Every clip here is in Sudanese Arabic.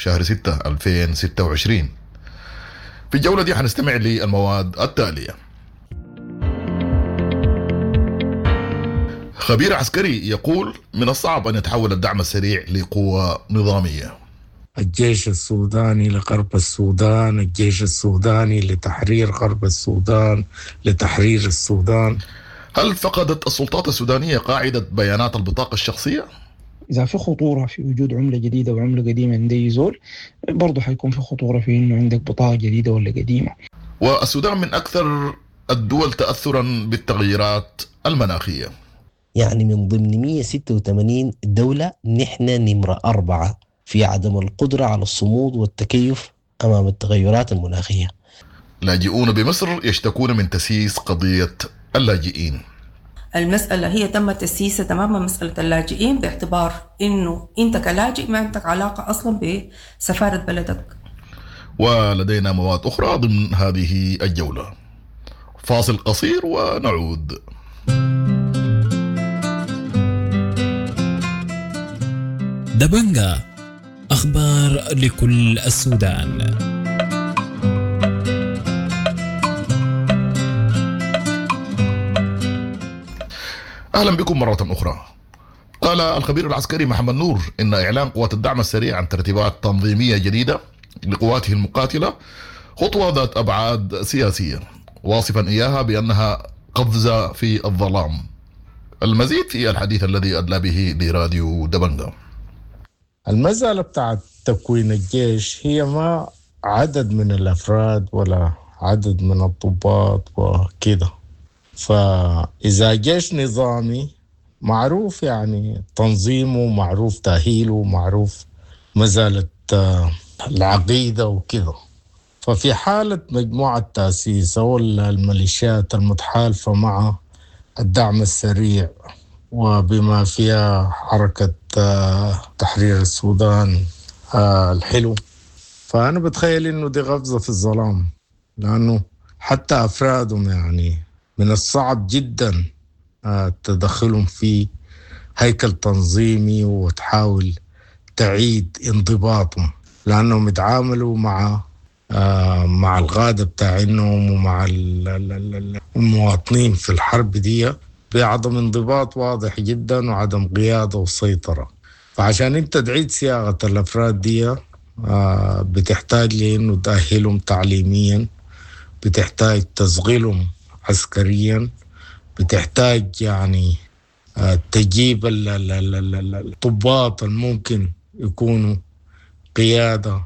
شهر 6 2026. في الجولة دي حنستمع للمواد التالية: خبير عسكري يقول من الصعب أن يتحول الدعم السريع لقوة نظامية. الجيش السوداني لغرب السودان، الجيش السوداني لتحرير غرب السودان، لتحرير السودان. هل فقدت السلطات السودانية قاعدة بيانات البطاقة الشخصية؟ إذا في خطورة في وجود عملة جديدة وعملة قديمة عند أي زول، برضه حيكون في خطورة في إنه عندك بطاقة جديدة ولا قديمة. والسودان من أكثر الدول تأثرا بالتغييرات المناخية. يعني من ضمن 186 دولة نحن نمرة 4 في عدم القدرة على الصمود والتكيف أمام التغيرات المناخية. لاجئون بمصر يشتكون من تسييس قضية اللاجئين. المسألة هي تم تسييسها تماما، مسألة اللاجئين، باعتبار إنه أنت كلاجئ ما عندك علاقة أصلا بسفارة بلدك. ولدينا مواد أخرى ضمن هذه الجولة. فاصل قصير ونعود. دبنجا، أخبار لكل السودان. أهلا بكم مرة أخرى. قال الخبير العسكري محمد نور إن إعلان قوات الدعم السريع عن ترتيبات تنظيمية جديدة لقواته المقاتلة خطوة ذات أبعاد سياسية، واصفا إياها بأنها قفزة في الظلام. المزيد في الحديث الذي أدلى به لراديو دبنجا. المسألة بتاعت تكوين الجيش هي ما عدد من الأفراد ولا عدد من الضباط وكده. فإذا جيش نظامي معروف يعني تنظيمه، معروف تأهيله، معروف مسألة العقيدة وكده. ففي حالة مجموعة تأسيس أو الميليشيات المتحالفة مع الدعم السريع وبما فيها حركة تحرير السودان الحلو، فأنا بتخيل إنه دي قفزة في الظلام، لأنه حتى أفرادهم يعني من الصعب جدا تدخلهم في هيكل تنظيمي وتحاول تعيد انضباطهم، لأنهم يتعاملوا مع القادة بتاعينهم ومع المواطنين في الحرب دي بعدم انضباط واضح جدا وعدم قيادة وسيطرة. فعشان انت تعيد صياغة الأفراد دي بتحتاج لأنه تأهلهم تعليميا، بتحتاج تشغيلهم عسكريا، بتحتاج يعني تجيب الضباط الممكن يكونوا قيادة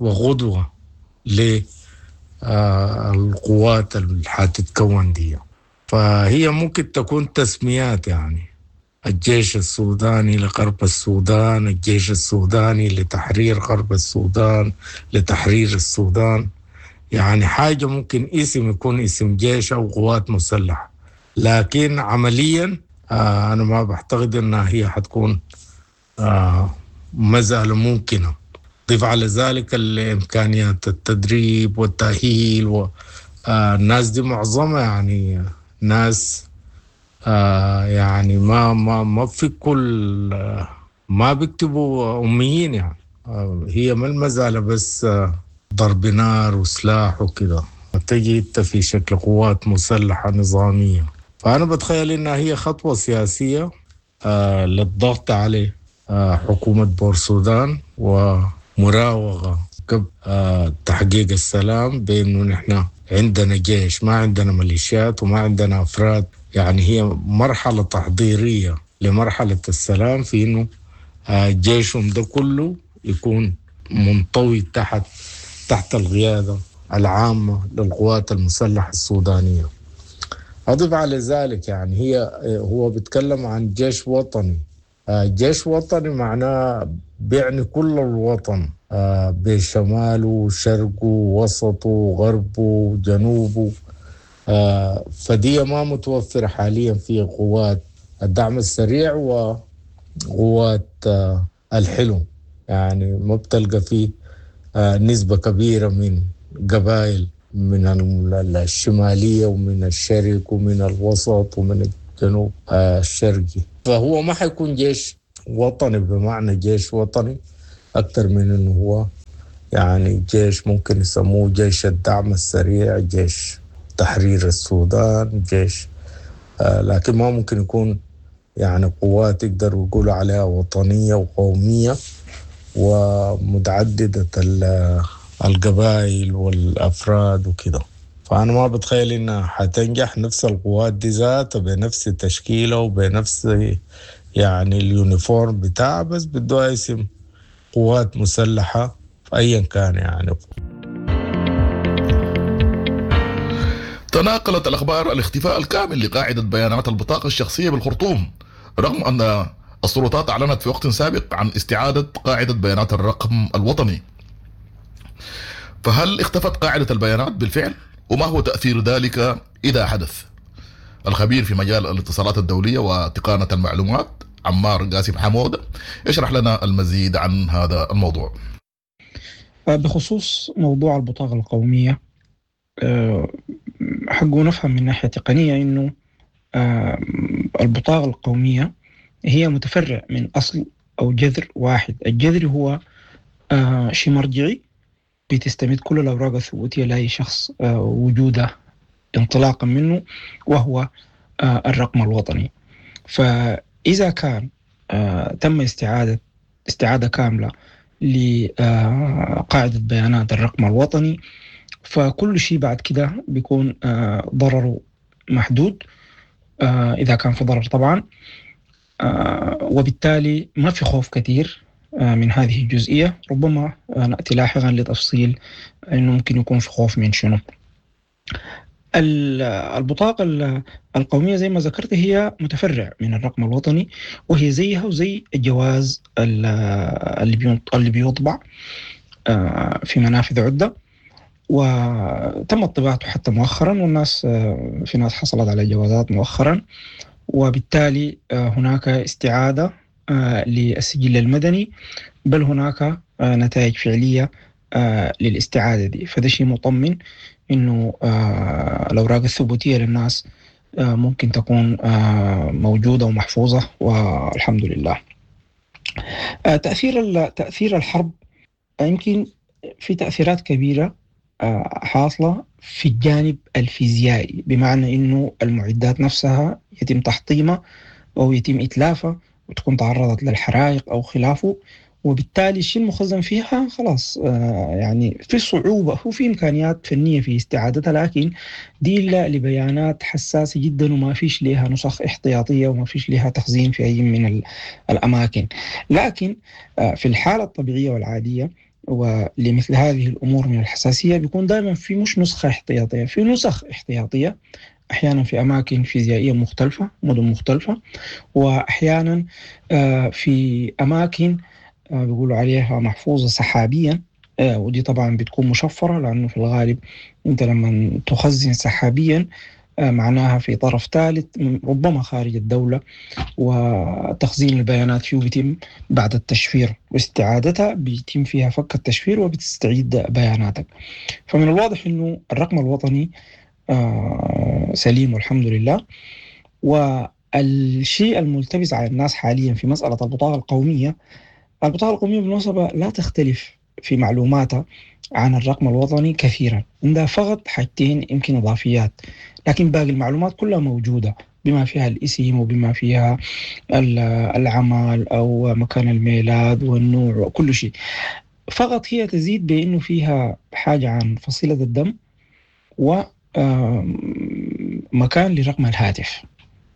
وغدوة للقوات اللي حتتكون دي. فهي ممكن تكون تسميات، يعني الجيش السوداني لغرب السودان، الجيش السوداني لتحرير غرب السودان، لتحرير السودان، يعني حاجة ممكن اسم يكون اسم جيش أو قوات مسلحة، لكن عمليا أنا ما بعتقد أنها هي حتكون مسألة ممكنة. ضيف على ذلك الإمكانيات التدريب والتأهيل والناس دي معظمها يعني ناس يعني ما ما ما في كل ما بيكتبوا أميين، يعني هي ما المسألة بس ضرب نار وسلاح وكده، تجي انت في شكل قوات مسلحة نظامية. فأنا بتخيل إنها هي خطوة سياسية للضغط على حكومة بورسودان ومراوغة قبل تحقيق السلام، بأنه نحن عندنا جيش، ما عندنا ميليشيات وما عندنا أفراد. يعني هي مرحلة تحضيرية لمرحلة السلام، في إنه جيشهم ده كله يكون منطوي تحت القيادة العامة للقوات المسلحة السودانية. أضيف على ذلك يعني هو بيتكلم عن جيش وطني. جيش وطني معناه بيعني كل الوطن، بشماله وشرقه ووسطه وغربه وجنوبه. فدي ما متوفرة حاليا في قوات الدعم السريع وقوات الحلو، يعني ما بتلقى فيه نسبة كبيرة من قبائل من الشمالية ومن الشرق ومن الوسط ومن الجنوب الشرقي. فهو ما حيكون جيش وطني بمعنى جيش وطني أكثر من أنه هو يعني جيش ممكن يسموه جيش الدعم السريع، جيش تحرير السودان، جيش لكن ما ممكن يكون يعني قوات يقدروا يقولوا عليها وطنية وقومية ومتعددة القبائل والأفراد وكده. فأنا ما بتخيل إنها حتنجح نفس القوات دي ذاتها بنفس تشكيلة وبنفس يعني ال uniform بتاعها، بس بدوها اسم قوات مسلحة أيا كان يعني. تناقلت الأخبار الاختفاء الكامل لقاعدة بيانات البطاقة الشخصية بالخرطوم، رغم أن السلطات أعلنت في وقت سابق عن استعادة قاعدة بيانات الرقم الوطني. فهل اختفت قاعدة البيانات بالفعل؟ وما هو تأثير ذلك إذا حدث؟ الخبير في مجال الاتصالات الدولية وتقانة المعلومات عمار قاسم حمودة يشرح لنا المزيد عن هذا الموضوع. بخصوص موضوع البطاقة القومية، حقه نفهم من ناحية تقنية إنه البطاقة القومية هي متفرع من أصل أو جذر واحد. الجذر هو شيء مرجعي بتستمد كل الأوراق الثبوتية لأي شخص وجوده انطلاقا منه، وهو الرقم الوطني. فإذا كان تم استعادة كاملة لقاعدة بيانات الرقم الوطني، فكل شيء بعد كده بيكون ضرره محدود، إذا كان في ضرر طبعا، وبالتالي ما في خوف كثير من هذه الجزئية. ربما نأتي لاحقا لتفصيل أنه ممكن يكون في خوف من شنو. البطاقة القومية زي ما ذكرت هي متفرع من الرقم الوطني، وهي زيها وزي الجواز اللي بيطبع في منافذ عدة، وتم طباعته حتى مؤخرا، والناس في ناس حصلت على جوازات مؤخرا، وبالتالي هناك استعادة للسجل المدني، بل هناك نتائج فعلية للاستعادة دي. فده شيء مطمن إنه الأوراق الثبوتية للناس ممكن تكون موجودة ومحفوظة، والحمد لله. تأثير الحرب يمكن في تأثيرات كبيرة حاصلة في الجانب الفيزيائي، بمعنى إنه المعدات نفسها يتم تحطيمها أو يتم إتلافها وتكون تعرضت للحرائق أو خلافه، وبالتالي الشيء المخزن فيها خلاص يعني في صعوبة، هو في إمكانيات فنية في استعادتها، لكن دي لبيانات حساسة جدا وما فيش لها نسخ احتياطية وما فيش لها تخزين في أي من الأماكن. لكن في الحالة الطبيعية والعادية ولمثل هذه الأمور من الحساسية بيكون دائما في مش نسخة احتياطية، في نسخ احتياطية أحيانا في أماكن فيزيائية مختلفة، مدن مختلفة، وأحيانا في أماكن بيقولوا عليها محفوظة سحابيا، ودي طبعا بتكون مشفرة، لأنه في الغالب أنت لما تخزن سحابيا معناها في طرف ثالث ربما خارج الدولة، وتخزين البيانات فيه بيتم بعد التشفير واستعادتها بيتم فيها فك التشفير وبتستعيد بياناتك. فمن الواضح أنه الرقم الوطني سليم والحمد لله. والشيء الملتبس على الناس حاليا في مسألة البطاقة القومية، البطاقة القومية بالمناسبة لا تختلف في معلوماتها عن الرقم الوطني كثيرا، عندها فقط حاجتين يمكن إضافيات، لكن باقي المعلومات كلها موجودة بما فيها الاسم وبما فيها العمل أو مكان الميلاد والنوع وكل شيء. فقط هي تزيد بأنه فيها حاجة عن فصيلة الدم ومكان لرقم الهاتف،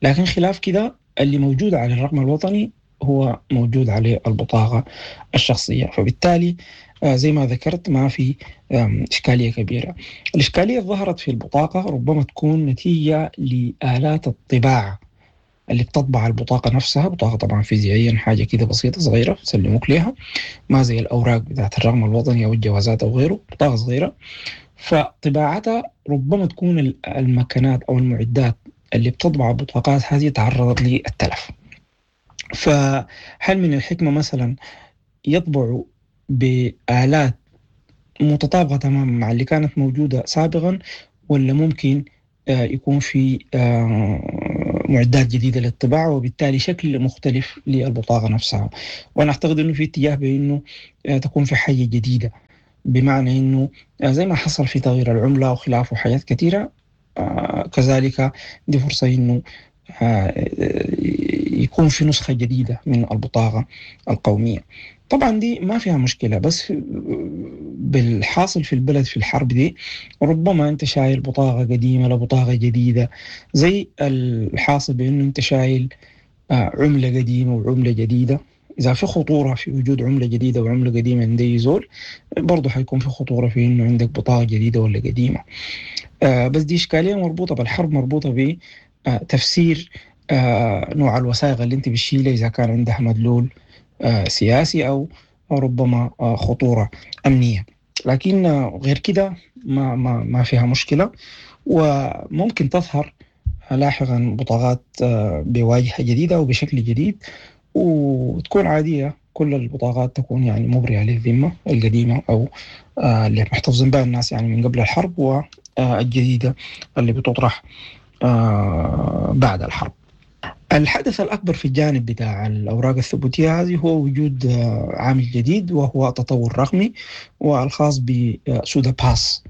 لكن خلاف كده اللي موجود على الرقم الوطني هو موجود عليه البطاقة الشخصية. فبالتالي زي ما ذكرت ما في إشكالية كبيرة. الإشكالية ظهرت في البطاقة ربما تكون نتيجة لآلات الطباعة اللي بتطبع البطاقة نفسها. بطاقة طبعا فيزيائيا حاجة كده بسيطة صغيرة سلموك ليها، ما زي الأوراق بتاعت الرقم الوطني أو الجوازات أو غيره، بطاقة صغيرة، فطباعتها ربما تكون المكانات أو المعدات اللي بتطبع البطاقات هذه تعرضت للتلف. فهل من الحكمة مثلا يطبعوا بآلات متطابقة تماما مع اللي كانت موجودة سابقا، ولا ممكن يكون في معدات جديدة للطباعة وبالتالي شكل مختلف للبطاقة نفسها؟ وأنا أعتقد أنه في اتجاه بأنه تكون في حاجة جديدة بمعنى إنه زي ما حصل في تغيير العملة وخلافه وحاجات كثيرة، كذلك دي فرصة إنه يكون في نسخة جديدة من البطاقة القومية. طبعا دي ما فيها مشكلة، بس بالحاصل في البلد في الحرب دي ربما أنت شايل بطاقة قديمة لبطاقة جديدة، زي الحاصل بأنه أنت شايل عملة قديمة وعملة جديدة. إذا في خطورة في وجود عملة جديدة وعملة قديمة عند أي زول، برضه حيكون في خطورة في إنه عندك بطاقة جديدة ولا قديمة. بس دي إشكالية مربوطة بالحرب، مربوطة بتفسير نوع الوثائق اللي أنت بتشيلها إذا كان عندها مدلول سياسي أو ربما خطورة أمنية. لكن غير كده ما فيها مشكلة، وممكن تظهر لاحقا بطاقات بواجهة جديدة وبشكل جديد وتكون عادية، كل البطاقات تكون يعني مبرئة للذمة القديمة أو اللي محتفظين بها الناس يعني من قبل الحرب، والجديدة اللي بتطرح بعد الحرب. الحدث الأكبر في الجانب بتاع الأوراق الثبوتية هذه هو وجود عامل جديد، وهو تطور رقمي والخاص بسودا باس،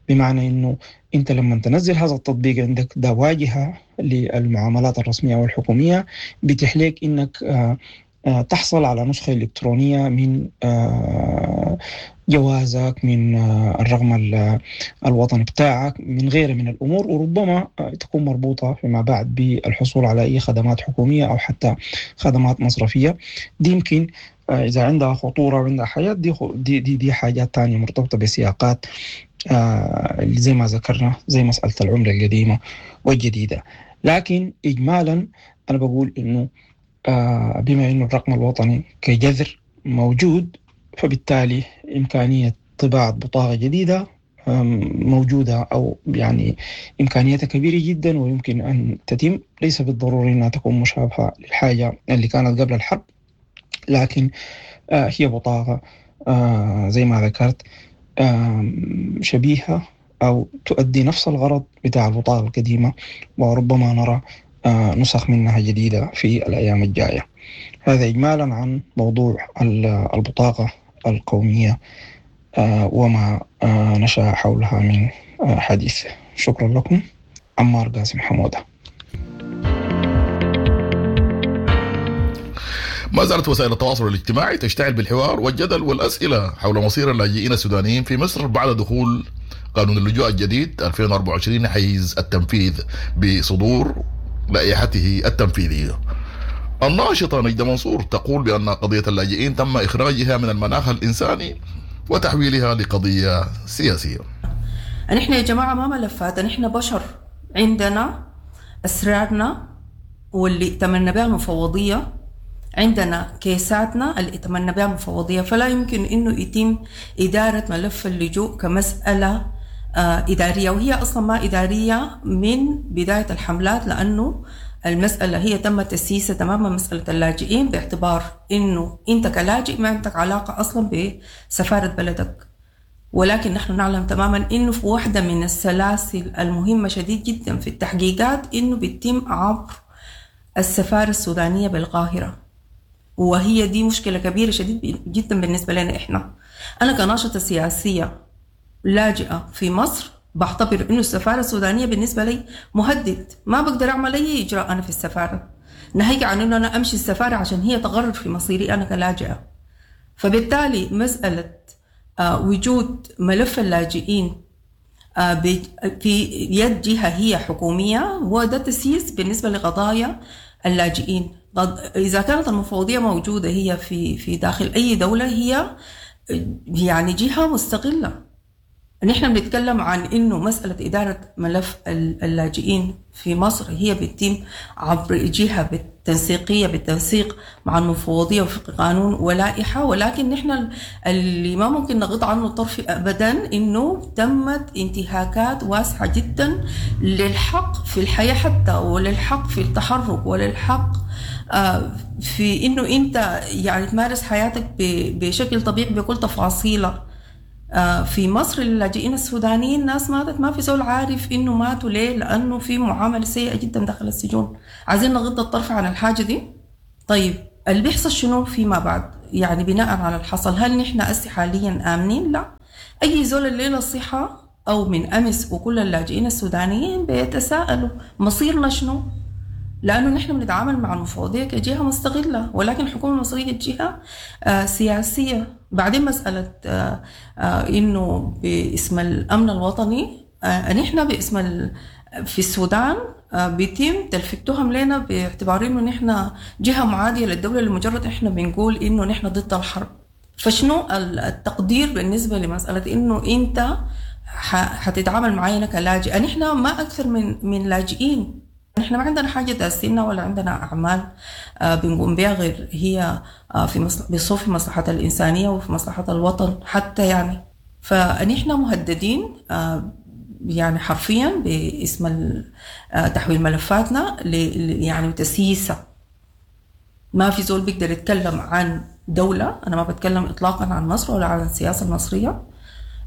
بمعنى أنه أنت لما تنزل هذا التطبيق عندك ده واجهة للمعاملات الرسمية والحكومية، بيتيح لك أنك تحصل على نسخة إلكترونية من جوازك، من الرقم الوطني بتاعك، من غيره من الأمور، وربما تكون مربوطة فيما بعد بالحصول على أي خدمات حكومية أو حتى خدمات مصرفية. دي يمكن إذا عندها خطورة وعندها حاجات دي دي دي, دي حاجات تانية مرتبطة بسياقات زي ما ذكرنا، زي مسألة العملة القديمة والجديدة. لكن إجمالا أنا بقول إنه بما إنه الرقم الوطني كجذر موجود، فبالتالي إمكانية طباعة بطاقة جديدة موجودة، أو يعني إمكانيتها كبيرة جدا ويمكن أن تتم. ليس بالضروري أنها تكون مشابهة للحاجة اللي كانت قبل الحرب، لكن هي بطاقة زي ما ذكرت شبيهة أو تؤدي نفس الغرض بتاع البطاقة القديمة، وربما نرى نسخ منها جديدة في الأيام الجاية. هذا إجمالا عن موضوع البطاقة القومية وما نشأ حولها من حديث. شكرا لكم. عمار قاسم حمودة. ما زالت وسائل التواصل الاجتماعي تشتعل بالحوار والجدل والأسئلة حول مصير اللاجئين السودانيين في مصر بعد دخول قانون اللجوء الجديد 2024 حيز التنفيذ بصدور لائحته التنفيذية. الناشطة نجدة منصور تقول بأن قضية اللاجئين تم إخراجها من المناخ الإنساني وتحويلها لقضية سياسية. نحن يا جماعة ما ملفات، نحن بشر، عندنا أسرارنا واللي ائتمنا بها المفوضية، عندنا كيساتنا اللي ائتمنا بها المفوضية، فلا يمكن إنه يتم إدارة ملف اللجوء كمسألة إدارية، وهي أصلا ما إدارية من بداية الحملات، لأنه المسألة هي تم تسييسها تماما مسألة اللاجئين باعتبار إنه أنت كلاجئ ما عندك علاقة أصلا بسفارة بلدك. ولكن نحن نعلم تماما إنه في واحدة من السلاسل المهمة شديد جدا في التحقيقات إنه بيتم عبر السفارة السودانية بالقاهرة، وهي دي مشكلة كبيرة شديد جدا بالنسبة لنا إحنا. أنا كناشطة سياسية لاجئة في مصر بعتبر إنه السفارة السودانية بالنسبة لي مهدد، ما بقدر أعمل أي إجراء أنا في السفارة، ناهيك عن إنه أنا أمشي السفارة عشان هي تقرر في مصيري أنا كلاجئة. فبالتالي مسألة وجود ملف اللاجئين في يد جهة هي حكومية هو ده تسييس بالنسبة لقضايا اللاجئين. إذا كانت المفوضية موجودة هي في داخل أي دولة، هي يعني جهة مستقلة. نحن بنتكلم عن إنه مسألة إدارة ملف اللاجئين في مصر هي بتتم عبر جهة بالتنسيقية، بالتنسيق مع المفوضية وفق قانون ولائحة، ولكن نحن اللي ما ممكن نغض عنه الطرف أبدا إنه تمت انتهاكات واسعة جدا للحق في الحياة حتى، وللحق في التحرك، وللحق في إنه أنت يعني تمارس حياتك بشكل طبيعي بكل تفاصيلها. في مصر اللاجئين السودانيين ناس ماتت ما في زول عارف إنه ماتوا ليه، لأنه في معاملة سيئة جدا داخل السجون. عايزين نغض الطرف عن الحاجة دي. طيب اللي بيحصل شنو فيما بعد؟ يعني بناء على الحصل هل نحن أسي حاليا آمنين؟ لا. أي زول الليلة الصحة أو من أمس وكل اللاجئين السودانيين بيتساءلوا مصيرنا شنو؟ لأنه نحن بنتعامل مع المفوضية كجهة مستغلة، ولكن الحكومة المصرية جهة سياسية. بعدين مسألة إنه باسم الأمن الوطني، نحن باسم في السودان بيتم تلفيق تهم لنا باعتبار إنه نحن جهة معادية للدولة لمجرد إحنا بنقول إنه نحن ضد الحرب. فشنو التقدير بالنسبة لمسألة إنه أنت حتتعامل معانا كلاجئ؟ نحن ما أكثر من لاجئين، نحن ما عندنا حاجة داسينا ولا عندنا أعمال بنقوم بها غير هي في بصوف في مصلحة الإنسانية وفي مصلحة الوطن حتى يعني. فنحن مهددين يعني حرفيا باسم تحويل ملفاتنا يعني وتسييسها. ما في زول بيقدر يتكلم عن دولة، أنا ما بتكلم إطلاقا عن مصر ولا عن السياسة المصرية،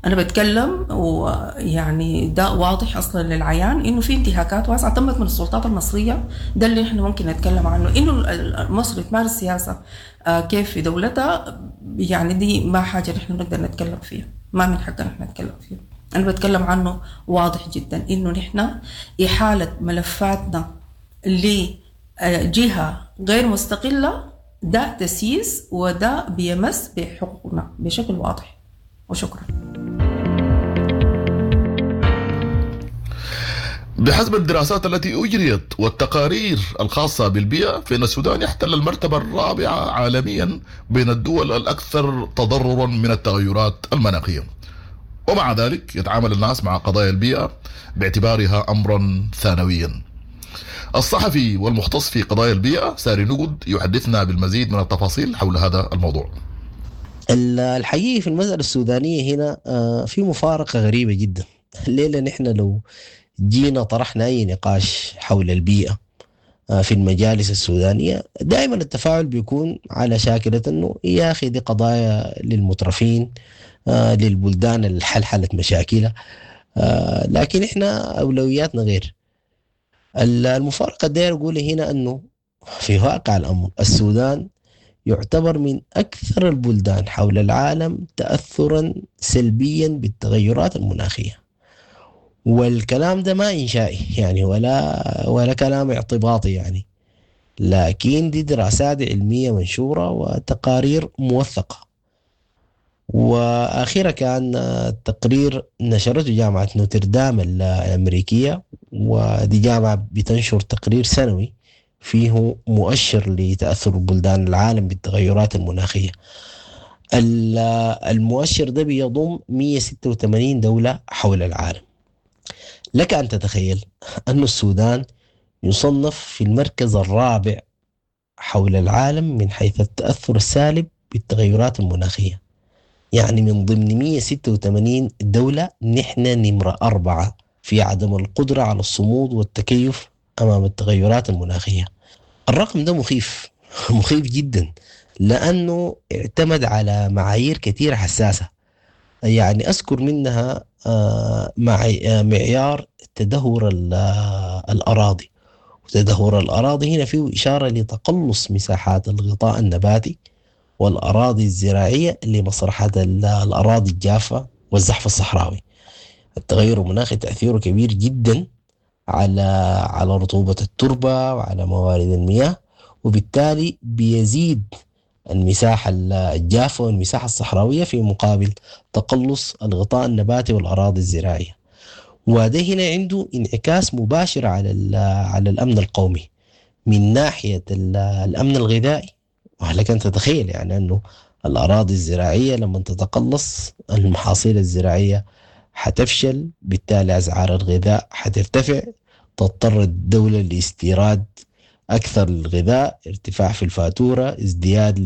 أنا بتكلم ويعني ده واضح أصلا للعيان إنه في انتهاكات واسعة تمت من السلطات المصرية. ده اللي إحنا ممكن نتكلم عنه، إنه مصر تمارس سياسة كيف في دولتها، يعني دي ما حاجة نحن بنقدر نتكلم فيها، ما من حقنا نحن نتكلم فيها. أنا بتكلم عنه واضح جدا إنه نحن إحالة ملفاتنا لجهة غير مستقلة ده تسييس، وده بيمس بحقوقنا بشكل واضح. وشكرا. بحسب الدراسات التي أجريت والتقارير الخاصة بالبيئة، فإن السودان يحتل المرتبة الرابعة عالميا بين الدول الأكثر تضررا من التغيرات المناخية، ومع ذلك يتعامل الناس مع قضايا البيئة باعتبارها أمرا ثانويا. الصحفي والمختص في قضايا البيئة ساري نقد يحدثنا بالمزيد من التفاصيل حول هذا الموضوع. الحقيقة في المسألة السودانية هنا في مفارقة غريبة جدا. الليلة نحن لو جينا طرحنا أي نقاش حول البيئة في المجالس السودانية، دائما التفاعل بيكون على شاكلة أنه يا أخي دي قضايا للمترفين، للبلدان اللي حلحلت مشاكلها، لكن إحنا أولوياتنا غير. المفارقة داير أقول هنا أنه في واقع الأمر السودان يعتبر من أكثر البلدان حول العالم تأثرا سلبيا بالتغيرات المناخية، والكلام ده ما إنشائي يعني ولا كلام اعتباطي يعني، لكن دي دراسات علمية منشورة وتقارير موثقة. وأخيرا كان تقرير نشرته جامعة نوتردام الأمريكية، ودي جامعة بتنشر تقرير سنوي فيه مؤشر لتأثر بلدان العالم بالتغيرات المناخية. المؤشر ده بيضم 186 دولة حول العالم. لك أن تتخيل أن السودان يصنف في المركز الرابع حول العالم من حيث التأثر السالب بالتغيرات المناخية، يعني من ضمن 186 دولة نحن نمرة 4 في عدم القدرة على الصمود والتكيف أمام التغيرات المناخية. الرقم ده مخيف مخيف جدا، لأنه اعتمد على معايير كثيرة حساسة، يعني أذكر منها معيار تدهور الأراضي. وتدهور الأراضي هنا فيه إشارة لتقلص مساحات الغطاء النباتي والأراضي الزراعية لمسرحة الأراضي الجافة والزحف الصحراوي. التغير المناخي تأثيره كبير جدا على رطوبة التربة وعلى موارد المياه، وبالتالي بيزيد المساحة الجافة والمساحة الصحراوية في مقابل تقلص الغطاء النباتي والأراضي الزراعية. وده هنا عنده انعكاس مباشر على الأمن القومي من ناحية الأمن الغذائي. ولك أن تتخيل يعني أنه الأراضي الزراعية لما تتقلص المحاصيل الزراعية حتفشل، بالتالي أسعار الغذاء حترتفع، تضطر الدولة لاستيراد أكثر الغذاء، ارتفاع في الفاتورة، ازدياد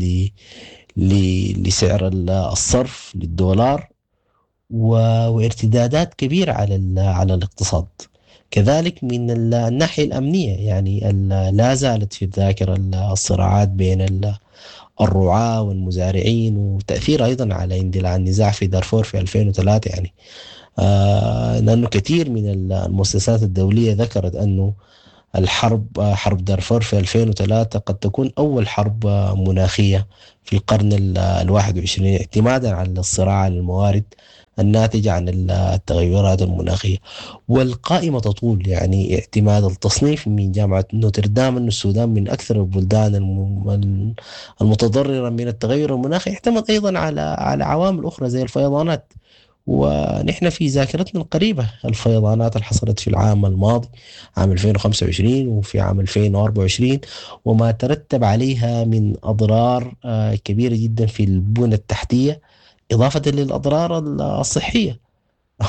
لسعر الصرف للدولار، وارتدادات كبيرة على الاقتصاد. كذلك من الناحية الأمنية، يعني لا زالت في الذاكرة الصراعات بين الرعاة والمزارعين، وتأثير أيضا على اندلاع النزاع في دارفور في 2003 يعني، لأنه كثير من المؤسسات الدولية ذكرت أنه الحرب، حرب دارفور في 2003 قد تكون أول حرب مناخية في القرن 21، اعتمادا على الصراع على الموارد الناتجة عن التغيرات المناخية. والقائمة تطول، يعني اعتماد التصنيف من جامعة نوتردام أن السودان من أكثر البلدان المتضررة من التغير المناخي اعتمد أيضا على عوامل أخرى زي الفيضانات. ونحن في ذاكرتنا القريبة الفيضانات اللي حصلت في العام الماضي عام 2025 وفي عام 2024 وما ترتب عليها من أضرار كبيرة جدا في البنى التحتية، إضافة للأضرار الصحية.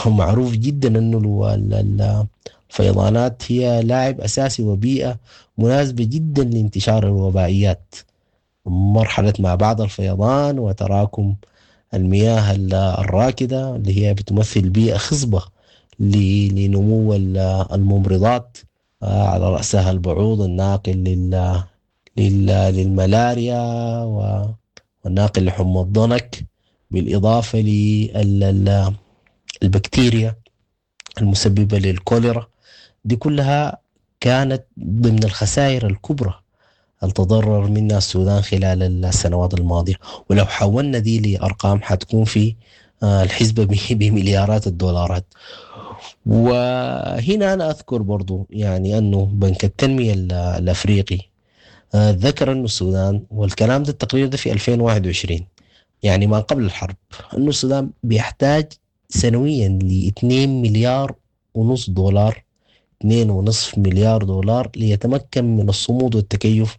معروف جدا أنه الفيضانات هي لاعب أساسي وبيئة مناسبة جدا لانتشار الوبائيات. مرحلة ما بعد الفيضان وتراكم المياه الراكدة اللي هي بتمثل بيئة خصبة لنمو الممرضات، على رأسها البعوض الناقل للملاريا والناقل لحمى الضنك، بالإضافة للبكتيريا المسببة للكوليرا. دي كلها كانت ضمن الخسائر الكبرى التضرر منها السودان خلال السنوات الماضية. ولو حولنا دي لأرقام حتكون في الحسبة بمليارات الدولارات. وهنا أنا أذكر برضو يعني أنه بنك التنمية الأفريقي ذكر أنه السودان، والكلام ده التقرير ده في 2021 يعني ما قبل الحرب، أنه السودان بيحتاج سنويا ل 2.5 مليار دولار، 2.5 مليار دولار ليتمكن من الصمود والتكيف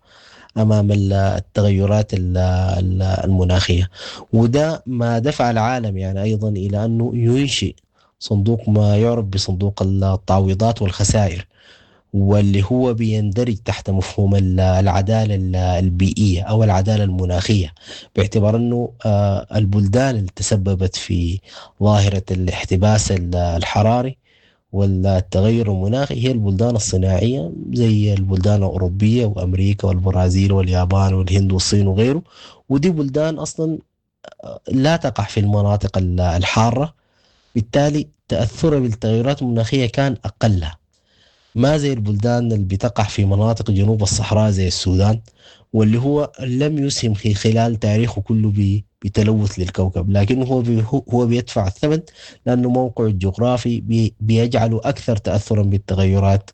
أمام التغيرات المناخية. وده ما دفع العالم يعني أيضا إلى أنه ينشئ صندوق ما يعرف بصندوق التعويضات والخسائر، واللي هو بيندرج تحت مفهوم العدالة البيئية أو العدالة المناخية، باعتبار أنه البلدان اللي تسببت في ظاهرة الاحتباس الحراري والتغير المناخي هي البلدان الصناعية زي البلدان الأوروبية وأمريكا والبرازيل واليابان والهند والصين وغيره، ودي بلدان أصلا لا تقع في المناطق الحارة، بالتالي تأثرها بالتغيرات المناخية كان أقل، ما زي البلدان اللي بتقع في مناطق جنوب الصحراء زي السودان، واللي هو لم يسهم في خلال تاريخه كله بتلوث للكوكب، لكنه هو بيدفع الثمن لأنه موقعه الجغرافي بيجعله أكثر تأثرا بالتغيرات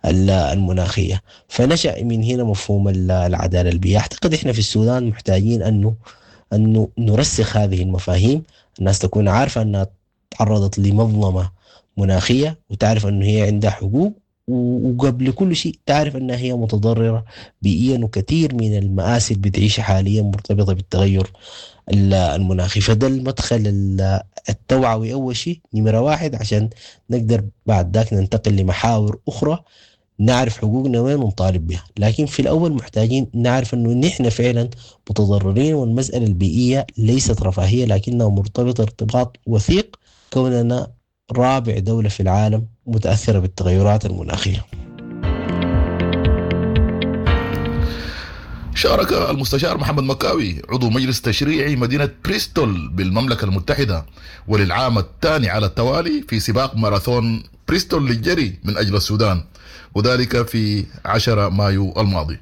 المناخية. فنشأ من هنا مفهوم العدالة البيئية. أعتقد إحنا في السودان محتاجين أنه نرسخ هذه المفاهيم، الناس تكون عارفة أنها تعرضت لمظلمة مناخية وتعرف أنه هي عندها حقوق، وقبل كل شيء تعرف أنها هي متضررة بيئيا، وكثير من المآسي اللي بتعيشها حاليا مرتبطة بالتغير المناخي. فده المدخل التوعوي أول شيء نمرة واحد، عشان نقدر بعد ذاك ننتقل لمحاور أخرى نعرف حقوقنا وين ونطالب بها. لكن في الأول محتاجين نعرف أنه نحن فعلا متضررين، والمسألة البيئية ليست رفاهية لكنها مرتبطة ارتباط وثيق كوننا رابع دولة في العالم متأثرة بالتغيرات المناخية. شارك المستشار محمد مكاوي عضو مجلس تشريعي مدينة بريستول بالمملكة المتحدة وللعام الثاني على التوالي في سباق ماراثون بريستول للجري من أجل السودان، وذلك في 10 مايو الماضي.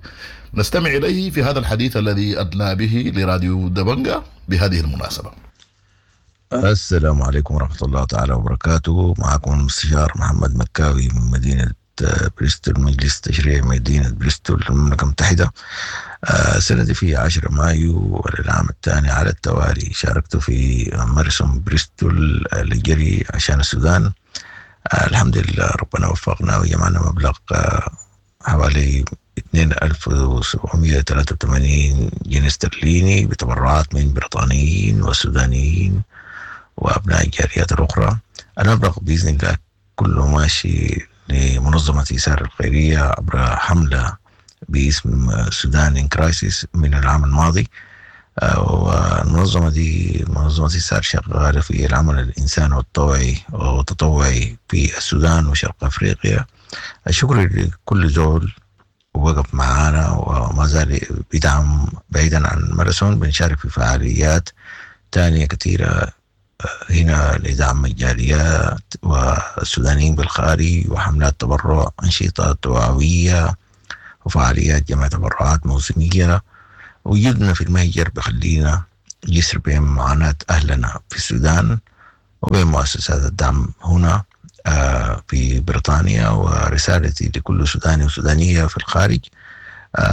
نستمع إليه في هذا الحديث الذي أدلى به لراديو دبنجا بهذه المناسبة. السلام عليكم ورحمة الله تعالى وبركاته. معكم المستشار محمد مكاوي من مدينة بريستول، مجلس تشريعي مدينة بريستول المملكة المتحدة. السنة دي في 10 مايو وللعام الثاني على التوالي شاركت في ماراثون بريستول للجري عشان السودان. الحمد لله ربنا وفقنا وجمعنا مبلغ حوالي 2783 جنيه استرليني بتبرعات من بريطانيين وسودانيين وأبناء الجاليات الأخرى. المبلغ بإذن الله كله ماشي لمنظمة إيثار الخيرية عبر حملة باسم Sudan in Crisis من العام الماضي. والمنظمة دي منظمة إيثار شغالة في العمل الإنساني والطوعي والتطوعي في السودان وشرق أفريقيا. الشكر لكل زول وقف معانا وما زال بيدعم بعيدا عن الماراثون. بنشارك في فعاليات تانية كثيرة هنا لدعم الجاليات والسودانيين بالخارج، وحملات تبرع، أنشطة توعوية، وفعاليات جمع تبرعات موسمية. وجودنا في المهجر بخلينا جسر بين معاناة أهلنا في السودان وبين مؤسسات الدعم هنا في بريطانيا. ورسالتي لكل سوداني وسودانية في الخارج،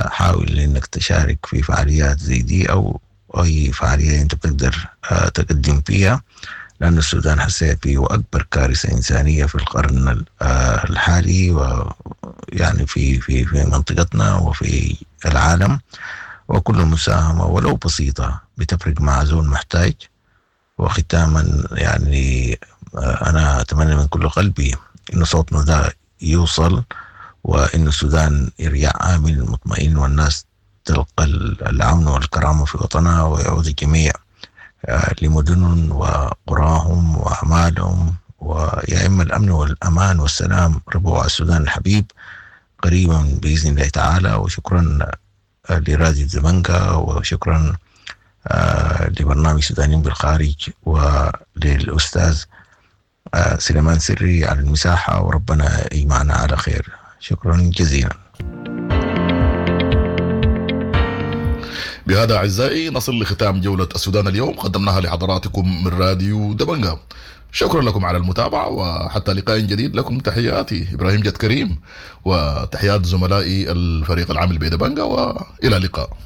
حاول انك تشارك في فعاليات زي دي او اي فعالية انت بتقدر تقدم فيها، لأن السودان حسيت فيه أكبر كارثة إنسانية في القرن الحالي، ويعني في في في منطقتنا وفي العالم. وكل مساهمة ولو بسيطة بتفرق مع زول محتاج. وختاما يعني أنا أتمنى من كل قلبي إنه صوتنا ده يوصل، وإنه السودان يرجع آمن مطمئن، والناس تلقى الأمن والكرامة في وطنها، ويعود الجميع لمدنهم وقراهم وأعمالهم، ويا إما الأمن والأمان والسلام ربوع السودان الحبيب قريبا بإذن الله تعالى. وشكرا لراديو دبنجا، وشكرا لبرنامج سودانيين بالخارج، وللأستاذ سليمان سري على المساحة، وربنا يجمعنا على خير. شكرا جزيلا. بهذا أعزائي نصل لختام جولة السودان اليوم، قدمناها لحضراتكم من راديو دبنجا. شكرا لكم على المتابعة، وحتى لقاء جديد لكم تحياتي إبراهيم جد كريم، وتحيات زملائي الفريق العامل بدبنجا، وإلى اللقاء.